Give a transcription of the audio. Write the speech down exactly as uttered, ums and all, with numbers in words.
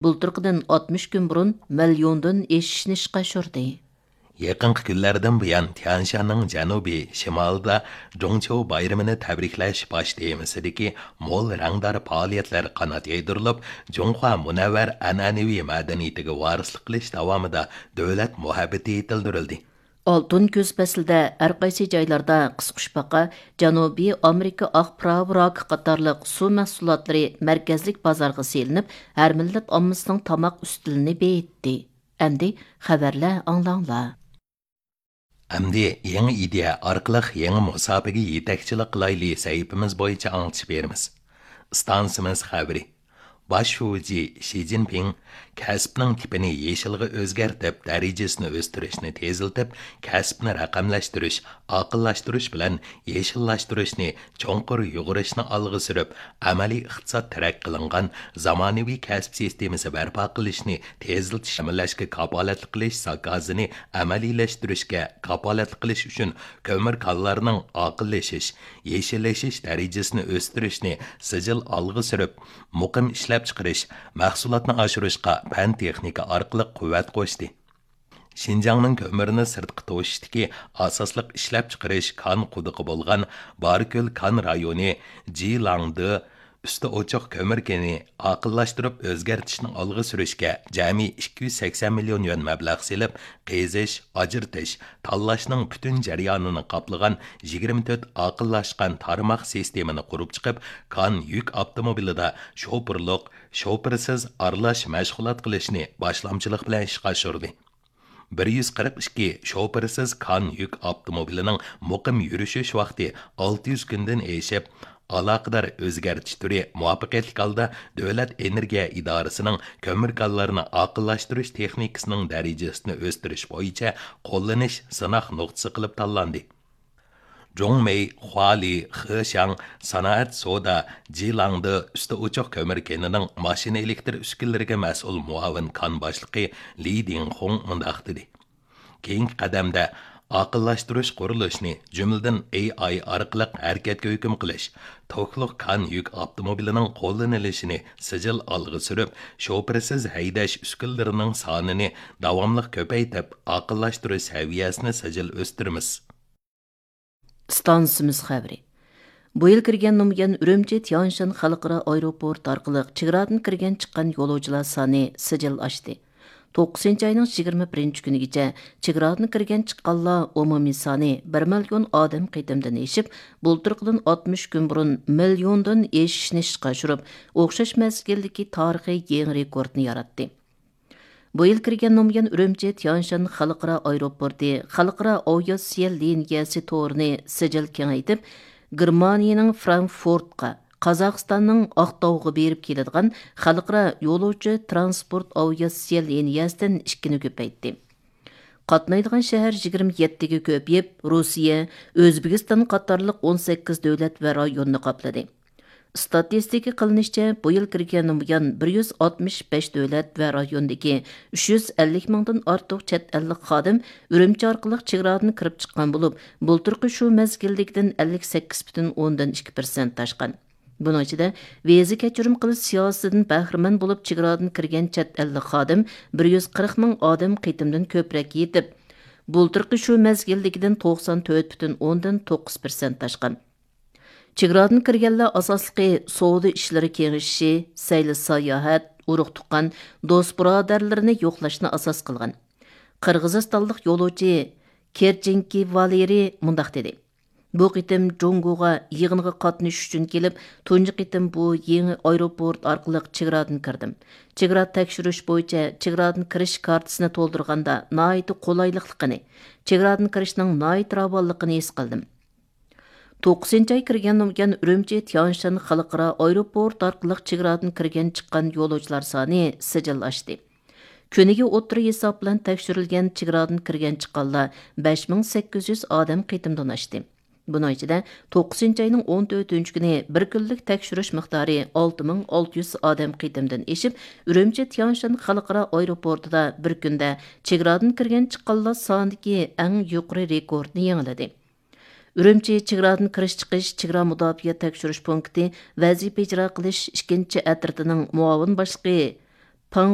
بۇلتۇرقىدىن ئاتمىش كۈن بۇرۇن مىليوندىن ئېشىشنى ئىشقا ئاشۇردى. يېقىنقى كۈنلەردىن بۇيان، تيەنشاننىڭ جەنۇبىي شىمالىدا جۇڭچيۇ بايرىمىنى تەبرىكلەش باش تېمىسىدىكى مول رەڭدار پائالىيەتلەر قانات يايدۇرۇلۇپ، جۇڭخۇا مۇنەۋۋەر ئەنئەنىۋى مەدەنىيىتىگە ۋارىسلىق قىلىش داۋامىدا دۆلەت مۇھەببىتى يېتىلدۈرۈلدى. ئالتۇن كۈز پەسلىدە ھەر قايسى جايلاردا قىسقۇچپاقا، جەنۇبىي ئامېرىكا ئاق پىراۋا راكى قاتارلىق سۇ مەھسۇلاتلىرى مەركەزلىك بازارغا سېلىنىپ، ھەر مىللەت ئاممىسىنىڭ تاماق ئۈستىلىنى بېيىتتى. ئەمدى خەۋەرلەر ئاڭلاڭلار. ئەمدى يېڭى ئىدىيە ئارقىلىق يېڭى مۇساپىگە يېتەكچىلىك قىلايلى سەھىپىمىز بويىچە ئاڭلىتىش بېرىمىز. ئىستانسىمىز خەۋىرى. باش شۇجى شى جىنپىڭ كەسىپنىڭ تىپىنى يېشىلغا ئۆزگەرتىپ، دەرىجىسىنى ئۆستۈرۈشنى تېزلىتىپ، كەسىپنى رەقەملەشتۈرۈش، ئاقىللاشتۇرۇش بىلەن يېشىللاشتۇرۇشنى چوڭقۇر يۇغۇرۇشنى ئالغا سۈرۈپ، ئەمەلىي ئىقتىساد تەرەققىي قىلىنغان زامانىۋى كەسىپ سىستېمىسى بەرپا قىلىشنى تېزلىتىش، تەمىنلەشكە كاپالەتلىك قىلىش زاكازىنى ئەمەلىيلەشتۈرۈشكە كاپالەتلىك قىلىش ئۈچۈن كۆمۈر كانلارنىڭ ئاقىللىشىش، يېشىللىشىش دەرىجىسىنى ئۆستۈرۈشنى سىجىل ئالغا سۈرۈپ، مۇقىم ئىشلەپچىقىرىش، مەھسۇلاتنى ئاشۇرۇشقا پەن-تېخنىكا ئارقىلىق قۇۋۋەت قوشتى. شىنجاڭنىڭ كۆمۈرنى سىرتقا توشۇشتىكى ئاساسلىق ئىشلەپچىقىرىش كان قۇدۇقى بولغان باركۆل كان رايونى جىلاڭدې ئۈستى ئوچۇق كۆمۈر كېنى ئاقىللاشتۇرۇپ ئۆزگەرتىشنى ئالغا سۈرۈشكە جەمئىي ئىككى يۈز سەكسەن مىليون يۈەن مەبلەغ سېلىپ، قېزىش، ئاجرىتىش، تاللاشنىڭ پۈتۈن جەريانىنى قاپلىغان يىگىرمە تۆت ئاقىللاشقان تارماق سىستېمىنى قۇرۇپ چىقىپ، كان يۈك ئاپتوموبىلىدا شوپۇرلۇق، شوپۇرسىز ئارىلاش مەشغۇلات قىلىشنى باشلامچىلىق بىلەن ئىشقا ئاشۇردى. بىر يۈز قىرىق ئىككى شوپۇرسىز كان يۈك ئاپتوموبىلىنىڭ مۇقىم يۈرۈشۈش ۋاقتى ئالتە يۈز كۈندىن ئېشىپ، ئالاقىدار ئۆزگەرتىش تۈرى مۇۋەپپەقىيەتلىك ھالدا دۆلەت ئېنېرگىيە ئىدارىسىنىڭ كۆمۈر كانلىرىنى ئاقىللاشتۇرۇش تېخنىكىسىنىڭ دەرىجىسىنى ئۆستۈرۈش بويىچە قوللىنىش سىناق نۇقتىسى قىلىپ تاللاندى. جۇڭمېي، خۇالى، خېشياڭ سانائەت سودا جىلاڭدې ئۈستى ئوچۇق كۆمۈر كېنىنىڭ ماشىنا ئېلېكتر ئۈسكۈنىلىرىگە مەسئۇل مۇئاۋىن كان باشلىقى لى دىڭخۇڭ مۇنداق دېدى: كېيىنكى قەدەمدە ئاقىللاشتۇرۇش قۇرۇلۇشىنى، جۈملىدىن ئېي ئاي ئارقىلىق ھەرىكەتكە ھۆكۈم قىلىش، توكلۇق كان يۈك ئاپتوموبىلىنىڭ قوللىنىلىشىنى سىجىل ئالغا سۈرۈپ، شوپۇرسىز ھەيدەش ئۈسكۈنىلىرىنىڭ سانىنى داۋاملىق كۆپەيتىپ، ئاقىللاشتۇرۇش سەۋىيەسىنى سىجىل ئۆستۈرىمىز. ئىستانسىمىز خەۋىرى. بۇ يىل كىرگەندىن بۇيان، ئۈرۈمچى تيانشان خەلقئارا ئايروپورت ئارقىلىق چېگرادىن كىرگەن چىققان يولۇچىلار سانى سىجىل ئاشتى. توققۇزىنچى ئاينىڭ يىگىرمە بىرىنچى كۈنىگىچە چېگرادىن كىرگەن چىققانلار ئومۇمىي سانى بىر مىليون ئادەم قېتىمدىن ئېشىپ، بۇلتۇرقىدىن ئاتمىش كۈن بۇرۇن مىليوندىن ئېشىشنى ئىشقا ئاشۇرۇپ، ئوخشاش مەزگىلدىكى تارىخىي يېڭى رېكورتنى ياراتتى. بۇ يىل كىرگەندىن بۇيان، ئۈرۈمچى تيانشان خەلقئارا ئايروپورتى خەلقئارا ئاۋىئاتسىيە لىنىيەسى تورىنى سىجىل كېڭەيتىپ، گېرمانىيىنىڭ فرانكفورتقا، قازاقىستاننىڭ ئاقتاۋغا بېرىپ كېلىدىغان خەلقئارا يولۇچى ترانسپورت ئاۋىئاتسىيە لىنىيەسىدىن ئىككىنى كۆپەيتتى. قاتنايدىغان شەھەر يىگىرمە يەتتىگە كۆپىيىپ، روسىيە، ئۆزبېكىستان قاتارلىق ئون سەككىز دۆلەت ۋە رايوننى قاپلىدى. ئىستاتىستىكا قىلىنىشىچە، بۇ يىل كىرگەندىن بۇيان، بىر يۈز ئاتمىش بەش دۆلەت ۋە رايوندىكى ئۈچ يۈز ئەللىك مىڭدىن ئارتۇق چەت ئەللىك خادىم ئۈرۈمچى ئارقىلىق چېگرادىن كىرىپ چىققان بولۇپ، بۇلتۇرقى شۇ مەزگىلدىكىدىن ئەللىك سەككىز پۈتۈن ئوندىن ئىككى پىرسەنت ئاشقان. بۇنىڭ ئىچىدە، ۋىزا كەچۈرۈم قىلىش سىياسىتىدىن بەھرىمەن بولۇپ چېگرادىن كىرگەن چەت ئەللىك خادىم بىر يۈز قىرىق مىڭ ئادەم قېتىمدىن كۆپرەك يېتىپ، بۇلتۇرقى شۇ مەزگىلدىكىدىن توقسان تۆت پۈتۈن ئوندىن توققۇز پىرسەنت ئاشقان. چېگرادىن كىرگەنلەر ئاساسلىقى سودا ئىشلىرى كېڭىشىشى، سەيلە ساياھەت، ئۇرۇق-تۇغقان، دوست-بۇرادەرلىرىنى يوقلاشنى ئاساس قىلغان. قىرغىزىستانلىق يولۇچى كېرچىنكى ۋالېرىي مۇنداق دېدى: بۇ قېتىم جۇڭگوغا يىغىنغا قاتنىشىش ئۈچۈن كېلىپ، تۇنجى قېتىم بۇ يېڭى ئايروپورت ئارقىلىق چېگرادىن كىردىم. چېگرا تەكشۈرۈش بويىچە چېگرادىن كىرىش كارتىسىنى تولدۇرغاندا ناھايىتى قولايلىقلىقىنى، چېگرادىن كىرىشنىڭ ناھايىتى راۋانلىقىنى ھېس قىلدىم. توققۇزىنچى ئاي كىرگەندىن بۇيان، ئۈرۈمچى تيانشان خەلقئارا ئايروپورت ئارقىلىق چېگرادىن كىرگەن چىققان يولۇچىلار سانى سىجىل ئاشتى. كۈنىگە ئوتتۇرا ھېساب بىلەن تەكشۈرۈلگەن چېگرادىن كىرگەن چىققانلار بەش مىڭ سەككىز يۈز ئادەم قېتىمدىن ئاشتى. بۇنىڭ ئىچىدە، توققۇزىنچى ئاينىڭ ئون تۆتىنچى كۈنى بىر كۈنلۈك تەكشۈرۈش مىقدارى ئالتە مىڭ ئالتە يۈز ئادەم قېتىمدىن ئېشىپ، ئۈرۈمچى تيانشان خەلقئارا ئايروپورتىدا بىر كۈندە چېگرادىن كىرگەن چىققانلار سانىدىكى ئەڭ يۇقىرى رېكورتنى يېڭىلىدى. ئۈرۈمچى چېگرادىن كىرىش چىقىش چېگرا مۇداپىئە تەكشۈرۈش پونكىتى ۋەزىپە ئىجرا قىلىش ئىككىنچى ئەترىتىنىڭ مۇئاۋىن باشلىقى پىڭ